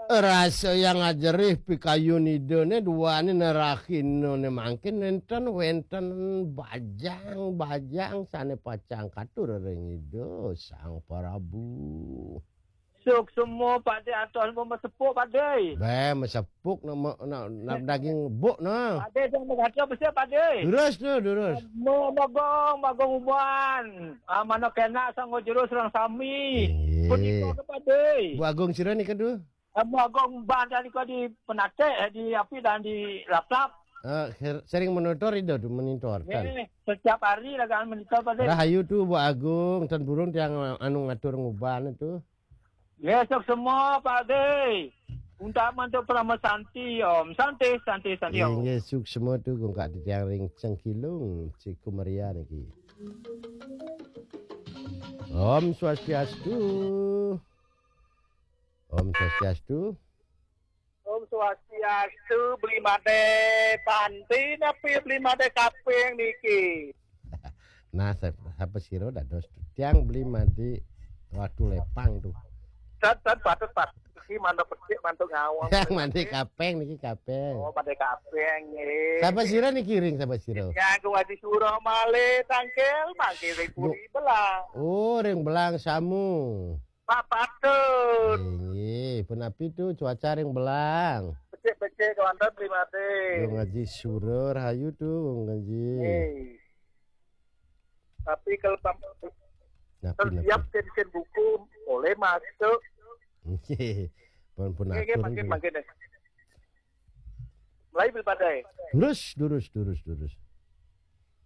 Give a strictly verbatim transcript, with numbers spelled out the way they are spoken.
Rasa yang ajerih pikayun Ida ne duane nerahina ne mangkin nenten wenten bajang-bajang sane pacang katur ring Ida Sang Prabu. Suksma, Pak De, atos mesepuk, Pak De. Be, mesepuk nak, nak, nak daging buk nah. Pak De, jangan berkata besar, Pak De. Durus tu, durus. Mo-, mogong, mogong uban. Ah, mana kena sanggo jero serang sami. Inggih. Punika ke, Pak De. Bu Agung sira nika tu? Ah, mogong uban tadi kok di Penatek, di api dan di Laplap. Eh, ser-, sering monitor itu tu, monitor kan. Nggih, setiap hari lagaan monitor, Pak De. Rahayu tu Bu Agung, ten burung tiang anu ngatur nguban tu. Nggih, suksma, Pak De. Untak mantuk Parama Santi, Om. Santi, Santi, Santi, Om. Inggih, suksma tu gungkak titiang ring Cengkilung, Cikumeria niki. Om Swastiastu. Om Swastiastu. Om Swastiastu, Beli Made. Panti napi Beli Made kaping niki? Nah, sa-, sapa sira dados tiang Beli Made Watu Lepang tu. Tan, tan, patut, patut. Iki mantuk becik, mantuk ngawang. Yang Made kaping niki kaping. Oh, Made kaping, nggih. Sapa sira niki ring sapa sira? Yang Haji Surah malih tangkil, mangke ring Puri Belang. Oh, ring Belang Samu. Pak Patut. Inggih, punapi tu cuaca ring Belang? Becik-becik kewanten, Beli Made. Wong Haji Surah, rahayu tu, Wong Haji. Nggih. Tapi kalau pam-, Napi, kalau napi? Siap sen-sen buku, boleh masuk. Nggih. Pun, pun Nggih, nggih, atur mangkin, nggih. Mangkin, eh. Mulai Beli Made. Durus, durus, durus, durus.